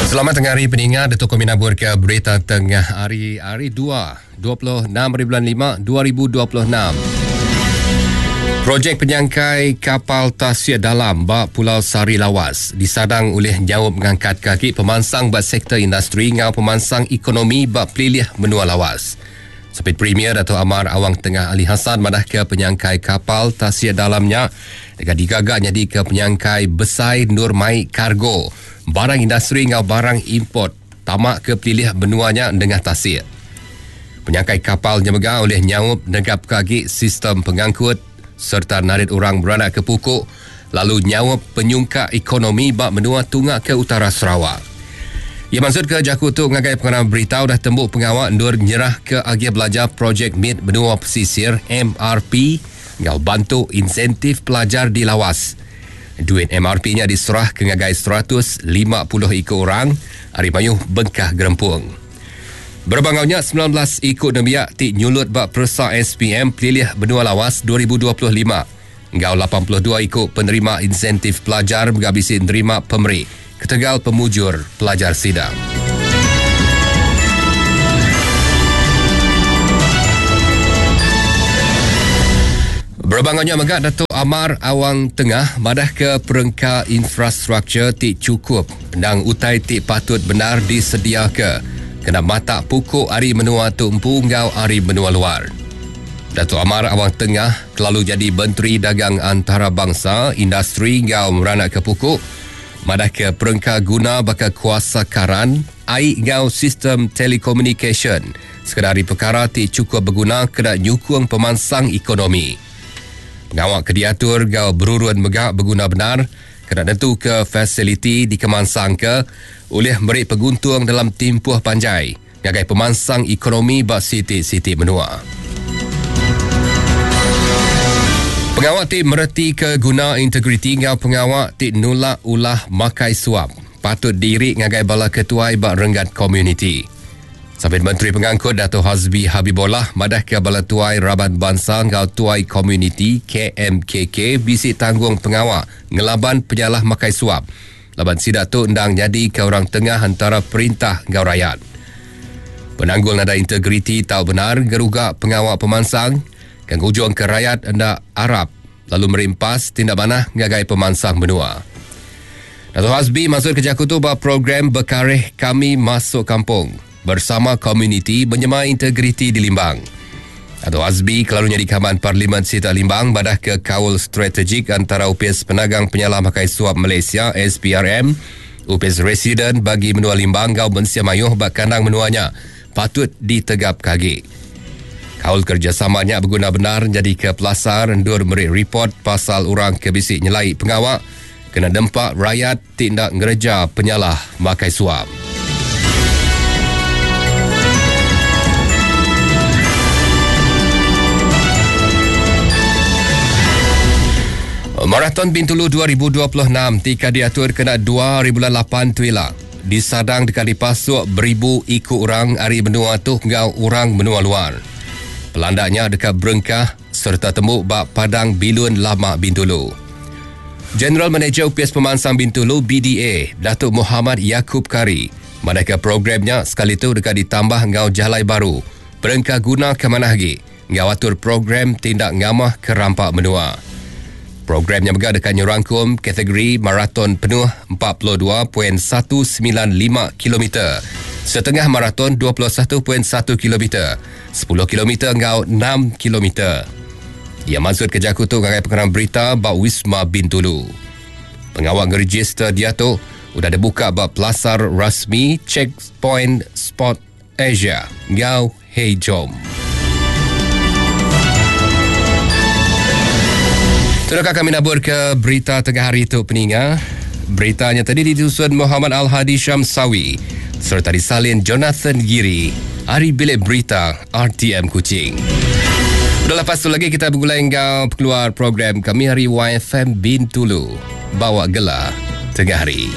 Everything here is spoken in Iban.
Selamat tengah hari peninga Datuk Kami nabur ke berita tengah hari hari 2 26 hari bulan 5 2026. Projek penyangkai kapal tasik dalam ba Pulau Sari Lawas disadang ulih nyaup ngangkat kaki pemansang ba sektor industri enggau pemansang ekonomi ba pelilih menua Lawas. Sapit Premier Datuk Amar Awang Tengah Ali Hasan madahka penyangkai kapal tasik dalam nya deka digaga nyadika penyangkai besai endur mai kargo, barang industri enggau barang import tama ke pelilih menua nya nengah tasik. Penyangkai kapal nya mega ulih nyaup negapka agi sistem pengangkut sereta narit orang beranakka puku lalu nyaup penyungkak ekonomi ba menua tunga ke utara Sarawak. Iya mansutka jaku tu ngagai pengarang berita udah tembu pengawa endur nyerahka agih belajar Projek Mit Menua Pesisir, MRP, enggau bantu insentif pelajar di Lawas. Duit MRP nya diserahka ngagai 150 iku orang ari mayuh bengkah gerempung. Berebak enggau nya, 19 iku nembiak ti nyulut ba peresa SPM Pelilih Benua Lawas 2025 enggau 82 iku penerima insentif pelajar mega bisi nerima pemeri ketegal pemujur pelajar sida. Berebak enggau nya mega Datuk Amar Awang Tengah madahka perengka infrastruktur ti chukup endang utai ti patut bendar disediaka kena matak puku ari menua tu empu enggau ari menua luar. Datuk Amar Awang Tengah kelalu jadi Menteri Dagang Antarabangsa, Industri enggau Meranakka Puku madahka perengka guna baka kuasa karan, ai enggau sistem telekomunikasyen sekeda ari pekara ti chukup beguna kena nyukung pemansang ekonomi. Pengawa ke diatur enggau berurun mega beguna bendar kena nentuka fasiliti dikemansangka ulih meri penguntung dalam timpuh panjai ngagai pemansang ekonomi ba siti-siti menua. Pengawa ti meretika guna integriti enggau pengawa ti nulak ulah makai suap patut diiri ngagai bala ketuai ba renggat komuniti. Sapit Menteri Pengangkut Dato Hasbi Habibollah madahka bala tuai raban bansa enggau tuai komuniti KMKK bisi tanggung pengawa ngelaban penyalah makai suap laban sida tu endang nyadika orang tengah entara perintah enggau rayat. Penanggul nadai integriti tau bendar ngeruga pengawa pemansang ke ngujungka rayat enda arap lalu meri empas ti enda manah ngagai pemansang menua. Dato Hasbi mansutka jaku tu ba program Bekareh Kami Masuk Kampung Bersama Komuniti Menyema Integriti di Limbang. Dato Hasbi kelalu nyadi Kaban Parlimen Sitak Limbang madahka kaul strategik antara Opis Penagang Penyalah Makai Suap Malaysia, SPRM, Opis Residen Bagi Menua Limbang enggau mensia mayuh ba kandang menua nya patut ditegapka agi. Kaul kerejasama nya beguna bendar nyadika pelasar endur meri ripot pasal orang ke bisi nyelai pengawa kena nempa rayat ti enda ngereja penyalah makai suap. Maraton Bintulu 2026 ti ka diatur kena dua hari bulan lapan tu ila disadang deka dipasuk beribu iku orang ari menua tu enggau orang menua luar. Pelanda nya deka berengkah sereta tembu ba Padang Bilun Lama Bintulu. General Manager Opis Pemansang Bintulu BDA, Datuk Mohamad Yakub Kari, madahka program nya sekali tu deka ditambah enggau jalai baru, perengka guna ke manah agi enggau atur program ti enda ngamah ke rampa menua. Program nya mega deka nyerangkum kategori maraton penuh 42.195 kilometer, setengah maraton 21.1 kilometer, sepuluh kilometer enggau enam kilometer. Iya mansutka jaku tu ngagai pengerang berita ba Wisma Bintulu. Pengawa ngerejister diatu udah dibuka ba pelasar rasmi Checkpoint Sport Asia enggau Hey Jom. Tu deka kami nabur ke berita tengah hari tu peninga. Berita nya tadi ditusun Muhammad Al-Hadi Syamsawi sereta disalin Jonathan Giri ari Bilik Berita RTM Kuching. Udah lepas tu lagi kita begulai enggau pengeluar program kami hari YFM Bintulu. Bawa gela tengah hari.